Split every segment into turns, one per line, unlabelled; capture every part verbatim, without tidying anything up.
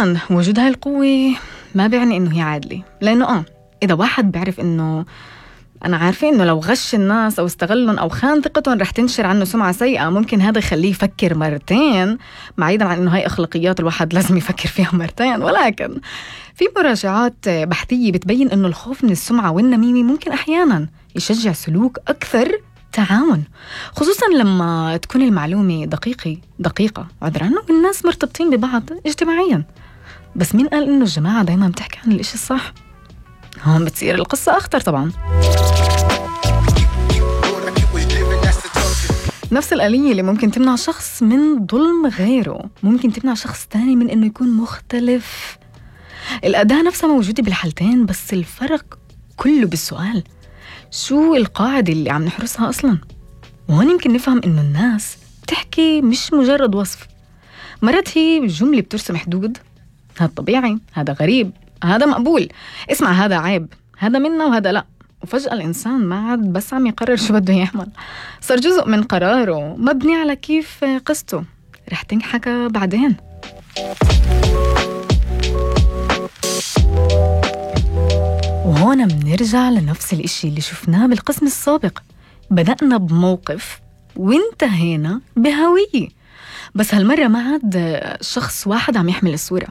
أبداً وجود هاي القوة ما بيعني إنه هي عادلة، لأنه آه إذا واحد بيعرف إنه أنا عارفة إنه لو غش الناس أو استغلهم أو خان ثقتهم رح تنشر عنه سمعة سيئة، ممكن هذا يخليه يفكر مرتين، بعيداً عن إنه هاي أخلاقيات الواحد لازم يفكر فيها مرتين. ولكن في مراجعات بحثية بتبين إنه الخوف من السمعة والنميمة ممكن أحياناً يشجع سلوك أكثر تعاون، خصوصاً لما تكون المعلومة دقيقة دقيقة عذرا والناس مرتبطين ببعض اجتماعياً. بس مين قال إنه الجماعة دايماً بتحكي عن الإشي الصح؟ هون بتصير القصة أخطر طبعاً. نفس الآلية اللي ممكن تمنع شخص من ظلم غيره ممكن تمنع شخص تاني من إنه يكون مختلف. الأداة نفسها موجودة بالحالتين، بس الفرق كله بالسؤال: شو القاعدة اللي عم نحرسها أصلاً؟ وهون يمكن نفهم إنه الناس تحكي مش مجرد وصف، مرات هي جملة بترسم حدود. هذا طبيعي، هذا غريب، هذا مقبول، اسمع هذا عيب، هذا منا وهذا لا. وفجأة الإنسان ما عاد بس عم يقرر شو بده يعمل، صار جزء من قراره مبني على كيف قصته رح تنحكى بعدين. وهون منرجع لنفس الاشي اللي شفناه بالقسم السابق، بدأنا بموقف وانتهينا بهوية، بس هالمرة ما عاد شخص واحد عم يحمل الصورة،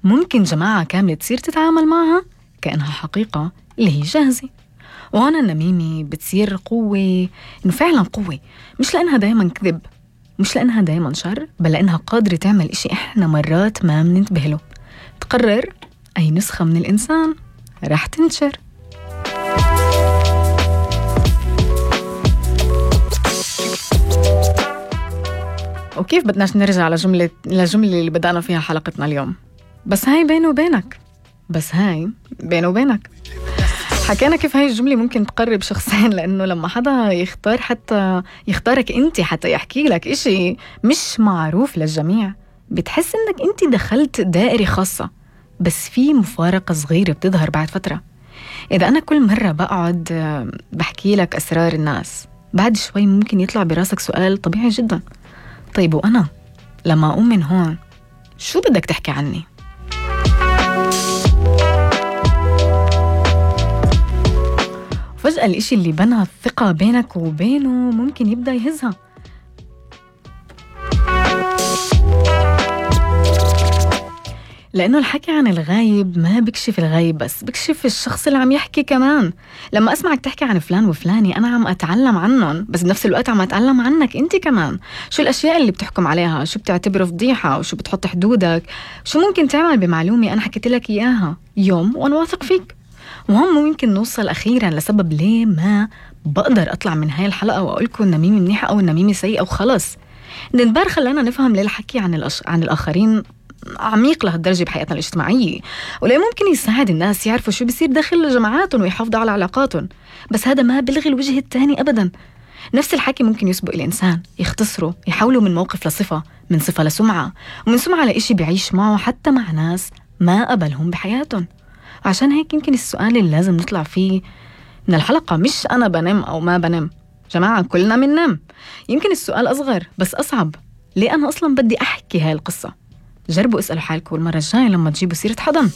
ممكن جماعة كاملة تصير تتعامل معها كأنها حقيقة اللي هي جاهزة. وهون النميمة بتصير قوة، إنه فعلا قوة، مش لأنها دايما كذب، مش لأنها دايما شر، بل لأنها قادرة تعمل إشي إحنا مرات ما مننتبه له، تقرر أي نسخة من الإنسان رح تنشر. وكيف بدناش نرجع لجملة لجملة اللي بدأنا فيها حلقتنا اليوم: بس هاي بينه وبينك، بس هاي بينه وبينك. حكينا كيف هاي الجملة ممكن تقرب شخصين، لأنه لما حدا يختار حتى يختارك أنت حتى يحكي لك إشي مش معروف للجميع، بتحس إنك أنت دخلت دائرة خاصة. بس في مفارقة صغيرة بتظهر بعد فترة. إذا أنا كل مرة بقعد بحكي لك أسرار الناس، بعد شوي ممكن يطلع براسك سؤال طبيعي جدا: طيب وأنا لما أقوم من هون شو بدك تحكي عني؟ فجأة الإشي اللي بنى الثقة بينك وبينه ممكن يبدأ يهزها. لأنه الحكي عن الغايب ما بكشف الغايب بس، بكشف الشخص اللي عم يحكي كمان. لما أسمعك تحكي عن فلان وفلاني أنا عم أتعلم عنهم، بس بنفس الوقت عم أتعلم عنك أنت كمان. شو الأشياء اللي بتحكم عليها، شو بتعتبره فضيحة، وشو بتحط حدودك، شو ممكن تعمل بمعلومة أنا حكيت لك إياها يوم وأنا واثق فيك. وهم ممكن نوصل أخيراً لسبب ليه ما بقدر أطلع من هاي الحلقة وأقولكم النميمة منيحة أو النميمة سيئة وخلص. نتبار خلانا نفهم ليه الحكي عن, الأش... عن الآخرين عميق لهالدرجة بحياتنا الاجتماعية، وليه ممكن يساعد الناس يعرفوا شو بيصير داخل جماعاتهم ويحافظوا على علاقاتهم. بس هذا ما بلغي الوجه الثاني أبداً. نفس الحكي ممكن يسبق الإنسان، يختصره، يحوله من موقف لصفة، من صفة لسمعة، ومن سمعة لإشي بيعيش معه حتى مع ناس ما قبلهم بحياتهم. عشان هيك يمكن السؤال اللي لازم نطلع فيه من الحلقة مش أنا بنام أو ما بنام، جماعة كلنا مننام. يمكن السؤال أصغر بس أصعب: ليه أنا أصلا بدي أحكي هاي القصة؟ جربوا اسألوا حالكم المرة الجاية لما تجيبوا سيرة حضن.